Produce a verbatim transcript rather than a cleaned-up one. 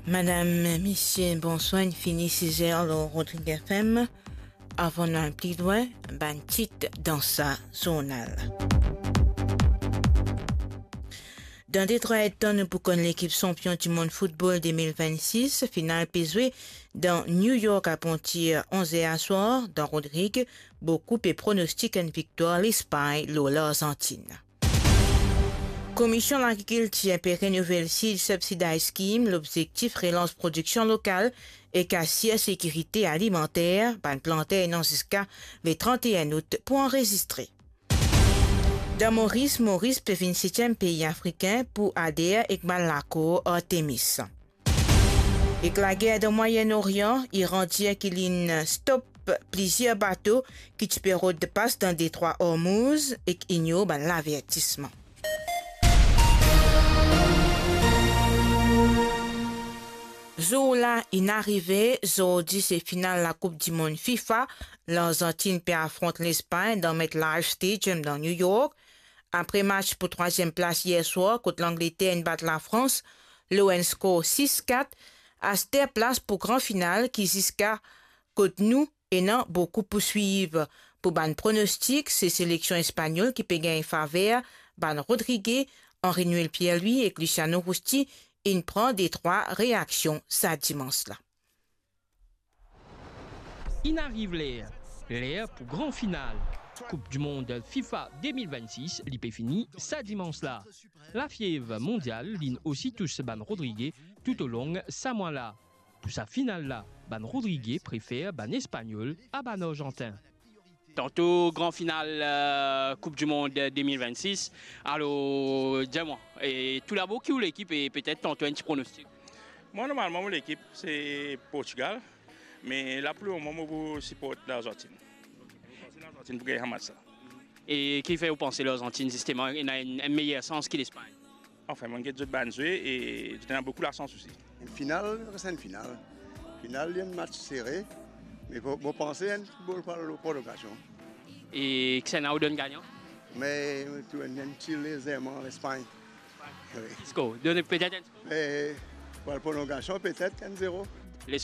Madam, misie, bonswar, inn fini size lor Rodrig F M. Avan nou al pli lwin, bann tit dan sa zournal. Dan detrwa edtan, nou pou konn lekip sanpion dimond foutbol de mil vennsis. Final pe zwe dan New York apartir onz er aswar. Dan Rodrig, boukou pe pronostik enn viktwar Lespagn lor Larzantin. Komisyon Lagrikiltir pe renouvel Seed Subsidized Scheme, lobzektif relans prodiksion lokal ek asir sekirite alimanter. Bann planter ena ziska le trant-e-enn out pou anrezistre. Dan Moris, Moris pe vinn setiem pei afrikin pou ader ek bann lakor Artemis. Ek lager dan Mwayen Orian, Iran dir ki linn stop plizier bato ki ti pe rod pas dan detrwa Ormouz ek ignor bann lavertisman. Zour la inn arive, zordi se final Lakoup Dimond fifa. Larzantin pe afront Lespagn dan MetLife Stadium dan New York. Apre match pou trwaziem plas yer swar kot Langleter inn bat Lafrans lor enn skor sis kat, aster plas pou gran final ki ziska kot nou ena boukou pou swiv. Pou bann pronostik, se seleksion Espagnol ki pe gagn faver bann Rodriguez, Henri Noël Pierre-Louis ek Luciano Rusti inn pran detrwa reaksion sa dimans la. Inn ariv ler, ler pou gran final. Koup dimond fifa de mil vennsis, li pe fini sa dimans la. Lafiev mondial linn osi tous bann Rodriguez toutolong sa mwa la. Pou sa final la, bann Rodriguez prefer bann Espagnol a bann Arzantin. Tanto gran final, euh, Coupe du Monde deux mille vingt-six. Alors, dis-moi, et tout d'abord, qui ou l'équipe et peut-être tantôt un petit pronostic? Moi, normalement, mon équipe, c'est Portugal. Mais là, pour le moment, moi, je supporte l'Argentine. Je pense que l'Argentine pour gagner un match, ça. E ki fer ou panse Larzantin, zisteman, ena enn, enn meyer sans ki Lespagn? Anfin, mo get zot bann zwe e zot ena boukou lasans osi. Enn final, res enn final. Final, li enn match sere, me mo, mo panse enn boul pou al prolongasion. E kisannla ou donn gagnan? Me tou enn, enn ti lezerman Lespagn. Wi. Skor, donn petet enn skor? Me pou al prolongasion, petet enn zero. Lespagn